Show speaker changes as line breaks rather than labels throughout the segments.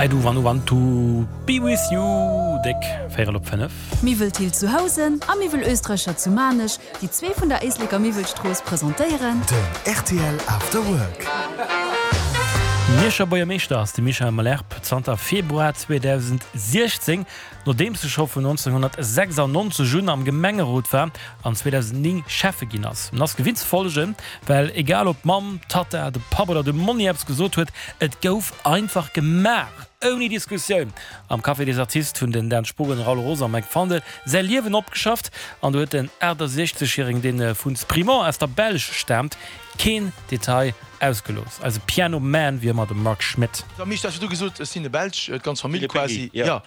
I do wanna want to be with you, déck véierel op 5.
Miwwel Thill zu Housen a Miwwel Oesträcher zu Maarnech, déi zwee vun der Éisleker Miwwelstrooss, presentéieren.
Den rtl After Work.
Mierscher Buergermeeschter ass de Michel Malherbe zanter Februar 2016, nodeems e scho vun 1996 un am Gemengerot war an 2009 Schäffe ginn ass. En ass gewinnt ze follegen, well egal ob d'Mamm, d'Tatta, de Papp oder de Monni eppes gesot huet, et gouf einfach gemaach, ouni Diskussioun. Am Café des Artistes hunn den Dan Spogen, Raoul Roos a Mike Fandel säi Liewen opgeschafft an do huet den 68 Järegen, dee vu Sprimont aus der Belsch staamt, keen Detail ausgelooss. Eise Piano Man, wéi ëmmer de Marc Schmitt.
Da Misch, du has du gesot, ech sinn e Belsch, d'ganz Famill quasi, jo.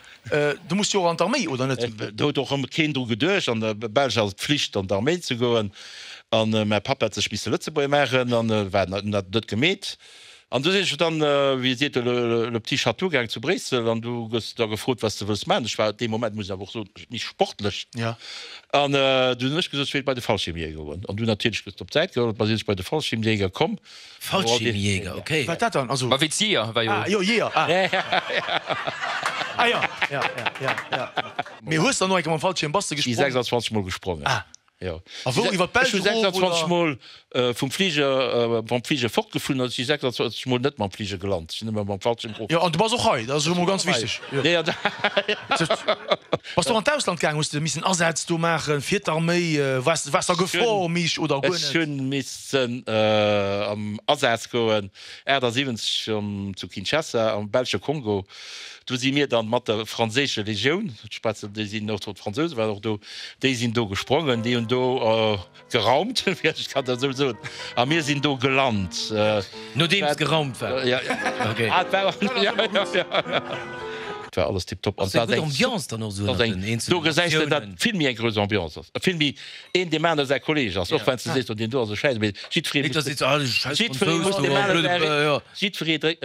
Du muss jo och an d'Arméi, oder net?
Do huet och ëmmer keen dru geduecht. An der Belsch ass et Pflicht an d'Arméi ze goen. An mäi Papp hat sech misse Lëtzebuerger maachen an war dat net gemeet. An du sinn ech dann, wéi seet e, le petit château gaang zu Bréissel an du gëss da gefrot, wat s de wëlls maachen. Ech war dee Moment, muss ech awer och soen, méi sportlech. An du hunn ech gesot, ech wéilt bei de Fallschiermjäger goen. An du natierlech gëss de op d'Säit geholl. Da sinn ech bei de Fallschiermjäger komm.
Fallschiermjäger, ok.
Wat dat dann? Also.
Ma wéi d'Jeeër war jo.
Ah jo, Jeeër, ah. Ah jo, ja, ja, ja, ja. Mee hues dann och eng Kéier mam Fallschierm, bass de
Ech si
gesprongen?
26 mol gesprongen.
Ah.
Jo.
A wou, iwwer d'Belsch
Ech hu
erof,
26
oder?
mol vum Fliger, mam Fliger fortgeflunn an ech si 26 mol net mam Fliger gelant. Ech sinn ëmmer mam Fallschierm erof.
Jo, an du bass och hei, dat ass elo mol ganz wichteg. Jo.
Nee, an.
Bass du och an d'Ausland gaang? Hues de missen Asätz do maachen fir d'Arméi? Waars, waars de a Gefor, Misch, oder guer
Ech
net?
hunn missen am Asaz goen, 78 zu Kinshasa am belsche Kongo. Do si mir dann mat der franséische Legioun, ech schwätzen, déi sinn och do, d'Fransouse waren och do, déi sinn do gesprongen, déi hunn do geraumt, wéi ech kann dat esou soen, a mir sinn do gelant.
Nodeems geraumt war?
Ja, ah, et war, ja, ja, ja. Et war alles tiptop.
Ass eng gutt Ambiance dann och esou ënnert den eenzelnen
Do gesäis de, datt
Natiounen?
vill méi eng grouss Ambiance ass, vill méi een deem anere säi Kolleeg ass, och wann s de sees, oh deen do ass e Schäiss, mee jiddweree muss, jiddweree muss deem anere säi, jiddweree dréckt.